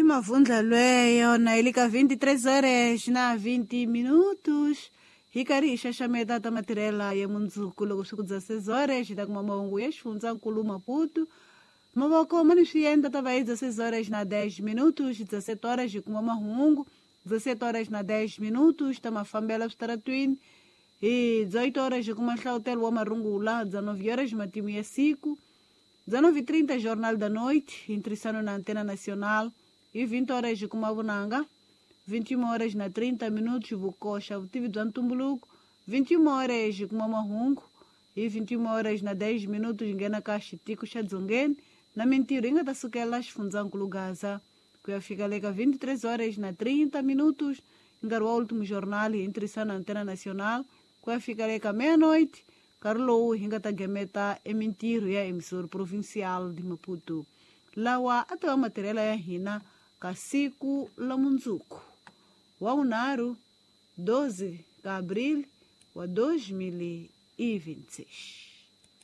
Mavundla lweyo na ile ka 23 horas na 20 minutos hi karhi hi xaxameta ta matirhela ya mundzuku loko swi ku dza 6 horas hi ta kuma mahungu ya xifundzankulu Maputo. Mavoko ma ni swiendla ta va hi 16 horas na 10 minutos, 17 horas hi kuma mahungu, 17 horas na 10 minutos ta mafambelo switaratwini, hi 18 horas hi kuma nhlavutelo wa marungula, 19 horas matimu ya siku, 19:30 Jornal da Noite, intrissano na Antena Nacional, e 20 horas hi kuma vunanga, 21 horas na 30 minutos vukoxa vutivi bya ntumbuluko, 21 horas hi kuma mahungu, hi 21 horas na 10 minutos hi nghena ka xitiko xa dzongeni na mintirho yi nga ta sukela xifundzankulu Gaza ku ya fika le ka 23 horas na 30 minutos nkarhi wa último jornal hi ntirhisano na Antena Nacional ku ya fika le ka meia-noite, nkarhi lowu hi nga ta gemeta emintirho ya emissora provincial de Maputo. Lawa a ta va matirhelo ya hina ka siku la mundzuku wa vunharhu 12 ka abril wa 2026.